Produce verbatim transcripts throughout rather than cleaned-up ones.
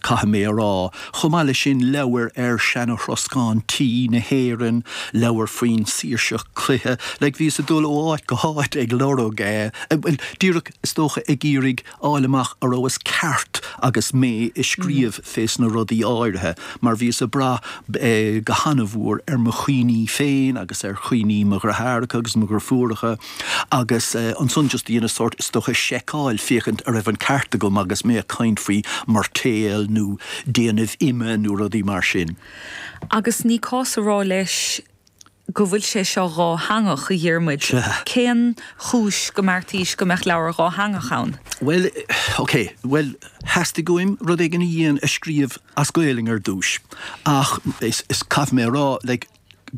caithfidh mé a rá. Chomh maith leis sin leabhair ar seana-throscán tí na hÉireann, leabhair faoin saoirseacht cloiche, like bhíos ag dul ó áit go háit ag lorg eh, bhuel díreach is dócha ag iarraidh fháil amach a rabhas ceart agus mé ag scríobh fés na rudaí áirithe, mar bhíos ag brath eh, go han-mhór ar mo chuimhní féin agus ar chuimhní mo dheartháireacha agus mo dheirfiúracha agus eh, ansan just dhéanas sórt is dócha seiceáil féachaint a raibh an ceart agam agus mé ag caint faoi moirtéal nó déanamh ime nó rudaí mar sin. Agus ní cás a rá leis go bhfuil sé seo dátheangach a Dhiarmuid. Cén chúis go mbeartaís go mbeadh leabhar dátheangach ann? Well, ok, well theastaigh uaim rud éigin a dhéan a scríobh as Gaelainn ar dtús. Ach is, is caithfidh mé rá like,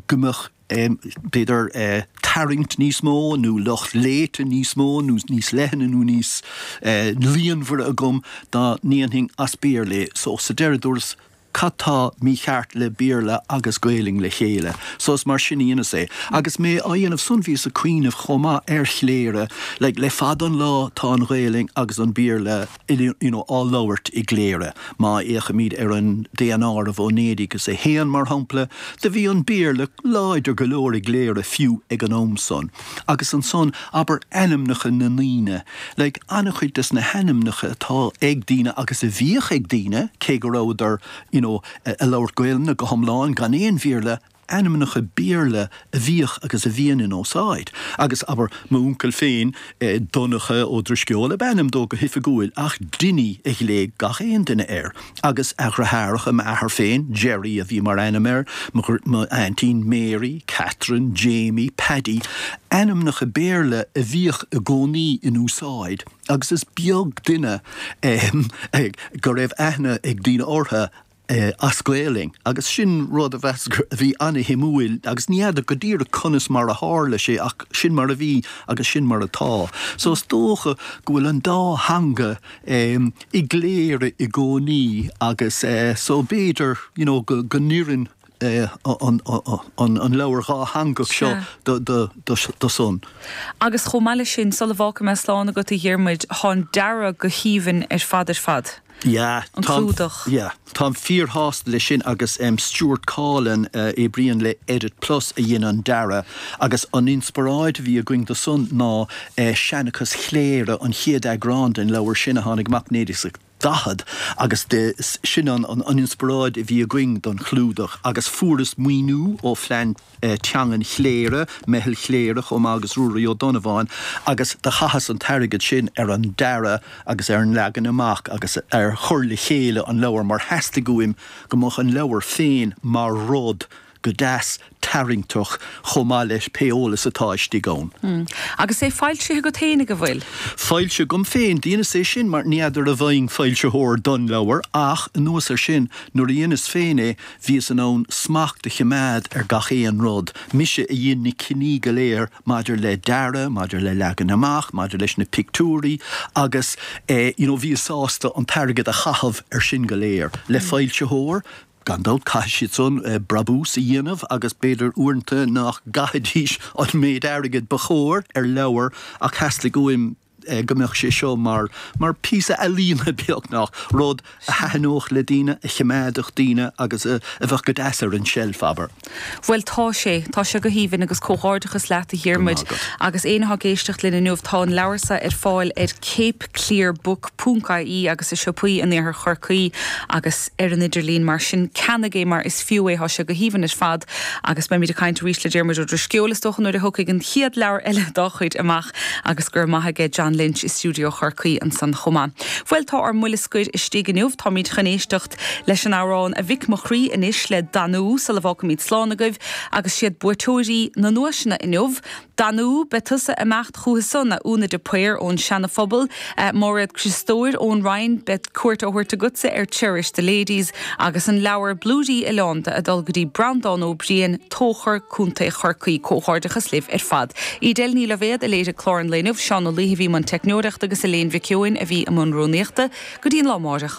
go mbeadh um, b'fhéidir uh, tarraingt níos mó nó lucht léite níos mó nó níos leithne nó níos uh, líonmhaire agam dá ndéanfainn as Béarla, so sa deireadh dúras cad tá mícheart le Béarla agus Gaelainn le chéile, so is mar sin a dheineas é. Agus mé á dhéanamh san bhíos ag cuimhneamh chomh maith ar Chléire, le le fada an lá tá an Ghaelainn agus an Béarla you know, á labhairt i gCléire. Má fhéachaimid ar an daonáireamh ó naoi déag is a haon mar shampla, do bhí an Béarla láidir go leor i gCléire fiú ag an am san. Agus ansan abair ainmneacha na ndaoine, like an-chuid des na hainmneacha atá ag daoine agus a bhíodh ag daoine cé go rabhadar you know, ag labhairt Gaelainne go hiomlán gan aon Bhéarla ainmneacha Béarla a bhíodh agus a bhíonn in úsáid. Agus abair m'uncail féin eh, Donncha Ó Drisceoil ab ainm dó go hoifigiúil ach Dinny a ghlaoigh gach aon duine air. Agus a dheartháireacha m'athair féin, Jerry a bhí mar ainm air, m'aintín Mary, Catherine, Jamie, Paddy, ainmneacha Béarla a bhíodh i gcónaí in úsáid, agus is beag duine eh, go raibh aithne ag daoine orthu eh, as Gaelainn agus sin rud a bheas a bhí an-shuimiúil agus ní fheadar go díreach conas mar a tharla sé ach sin mar a bhí agus sin mar atá. So is dócha go bhfuil an dá theanga um, i gCléire i gcónaí agus uh, so b'fhéidir you know, go, go n-oireann eh, an, an, an leabhar dátheangach seo do, do, do, do son. Agus chomh maith leis sin sula bhfágfaidh mé slán agat a Dhiarmuid tá an dearadh go haoibhinn ar fad ar fad. Yeah, An clúdach. Yeah, Táim fíorshásta leis sin agus um, Stuart Collin uh, oibríonn le Edit Plus a dhein an dearadh agus an inspioráid a bhí againn do san ná uh, Seanchas Chléire an chéad eagrán den leabhar sin a tháinig amach naoi déag daichead agus de sin an, an, an inspioráid a bhí againn don chlúdach agus fuaireas maoiniú ó phlean eh, teangan Chléire, Meitheal Chléire chomh maith agus Ruairí Ó Donnabháin agus do chaitheas an t-airgead sin ar an dearadh agus ar an leagan amach agus ar chur le chéile an leabhar mar theastaigh uaim go mbeadh an leabhar féin mar rud go deas tarraingteach chomh maith leis pé eolas atá istigh ann. Mm. Agus é foilsithe agat féin go bhfuil? Foilsithe agam féin dheineas é sin mar ní fheadar an bhfaighinn foilsitheoir don leabhar ach anuas ar sin nuair a dheineas féin é bhíos in ann smacht a choimeád ar gach aon rud. Mise a dhein na cinntí go léir maidir le dearadh, maidir le leagan amach, maidir leis na pictiúirí agus eh, you know, bhíos sásta an t-airgead a chaitheamh ar sin go léir. Le foilsitheoir, gan dabht caithfidh siad san eh, brabús a dhéanamh agus b'fhéidir uaireanta nach gcaithfidís an méid airgid ba chóir ar leabhar ach theastaigh uaim eh, go mbeadh sé seo mar mar píosa ealaíne beagnach rud a thaitneodh le daoine a choimeádfadh daoine agus a, a bheadh go deas ar an tseilf abair. Bhuel tá sé tá sé go haoibhinn agus comhghairdeachas leat a Dhiarmuid agus éinne atá ag éisteacht linn inniu tá an leabhar seo ar fáil ar capeclarebook.ie agus i siopaí in iarthar Chorcaí agus ar an idirlíon mar sin ceannaigh é mar is fiú é tá sé go haoibhinn ar fad agus beimid ag caint arís le Diarmuid Ó Drisceoil is dócha nuair a thiocfaidh an chéad leabhar eile dá chuid amach agus gur maith aige John Lynch i stiúideo Chorcaí ansan chomh maith. Bhuel tá ár mbuille scoir istigh inniu táimid chun éisteacht leis an amhrán a Mhic mo chroí anois le Danú sula bhfágfaimid slán agaibh agus siad buaiteoirí na nduaiseanna inniu. Danú beidh tusa ag imeacht chucu san a Úna de Paor ón Seana-Phobal, uh, Máiréad Criostóir ón Rinn beidh cuairt á thabhairt agatsa ar Cherish the Ladies agus an leabhar Blúirí Oileánda ag dul go dtí Breandán Ó Briain Tóchar Contae Chorcaí comhghairdeachas libh ar fad. Edel Ní Loibhéad a léirigh clár an lae inniu Seán Ó Laoi a bhí i mbun teicneoireachta agus Elaine Mhic Eoin a bhí i mbun rúnaíochta go dtí an lá amárach.